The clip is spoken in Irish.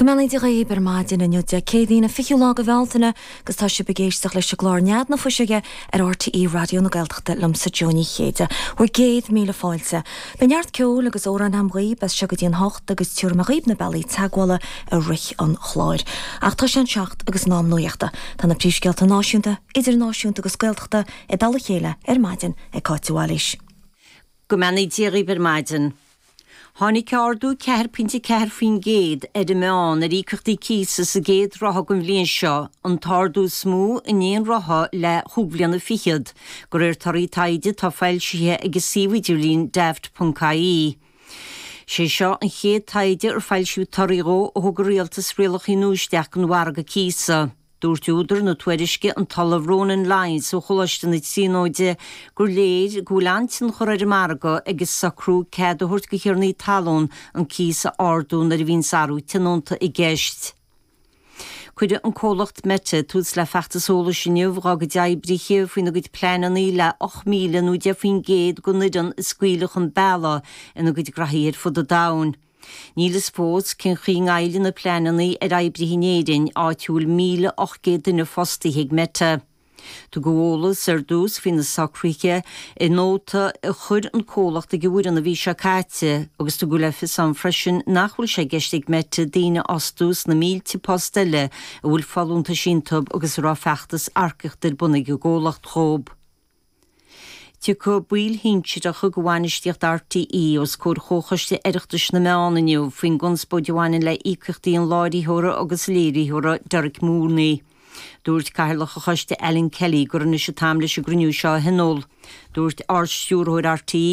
Go mbeannaí Dia dhaoib ar maidin inniu Dé Céadaoin an 20ú lá de Bhealtaine agus tá sibh ag éisteacht leis an gclár Nead na Fuiseoige ar RTÉ Raidió na Gaeltachta liomsa Joe Ní Chéide. Bhur gcéad míle fáilte. Beidh neart ceoil agus amhráin agam dhaoib as seo go dtí an hocht agus tabharfaidh mé dhaoib na bealaí teagmhála i rith an chláir. Ach tá sé an seacht agus in am nuachta. Tá na príomhscéalta náisiúnta, idirnáisiúnta agus Gaeltachta i dtoll a chéile ar maidin ag Cáit de Bhailís. Go mbeannaí Dia dhaoib ar maidin. Tháinig ardú 4.4% ar an meán ar íocaíochtaí cíosa sa gcéad ráithe den bhliain seo, an t-ardú is mó in aon ráithe le chúig bhliana fichead, de réir torthaí taighde atá foilsithe ag an suíomh idirlín Daft.ie. Sé seo an chéad taighde ar foilsíodh torthaí dhó ó thug an Rialtas rialacha nua isteach don mhargadh cíosa. Dúirt údar na tuairisce, an tOllamh Ronan Lyons ó Choláiste na Tríonóide, gur léir go bhfuil an-tionchar ar an margadh ag an socrú cead a thabhairt do thiarnaí talún an cíos a ardú nuair a bhíonns athrú tionónta i gceist. Cuirfidh an comhlacht Meta tús le feachtas eolais inniu dhá gcuid oibrithe faoina gcuid pleananna le 8,000 nó 10% den fhoireann a scaoileadh chun bealaigh ina gcuid graithí ar fud an domhain. Níl fhios fós cén chaoi a ngoillfidh na pleananna ar oibrithe in Éirinn, áit a bhfuil 1,800 duine fostaithe ag Meta. Tugadh eolas ar dtús faoi na socruithe i nóta a chuir an comhlacht ag an bhfoireann an mhí seo caite agus tugadh le fios ann freisin nach bhfuil sé i gceist ag Meta daoine a fhostú sna mílte post eile a bhfuil folúntais iontu agus a raibh feachtas earcaíochta ar bun ag an gcomhlacht dhóibh. Tiocfaidh baill shinsearacha de bhainistíocht RTÉ os comhair Chomhchoiste Oireachtais na Meán inniu faoin gconspóid a bhaineann le híocaíochtaí an láithreora agus léiritheora Derek Mooney. Dúirt Cathaoirleach an choiste Alan Kelly gur anois an t-am leis an gcruinniú seo a thionól. Dúirt Ard-Stiúrthóir RTÉ.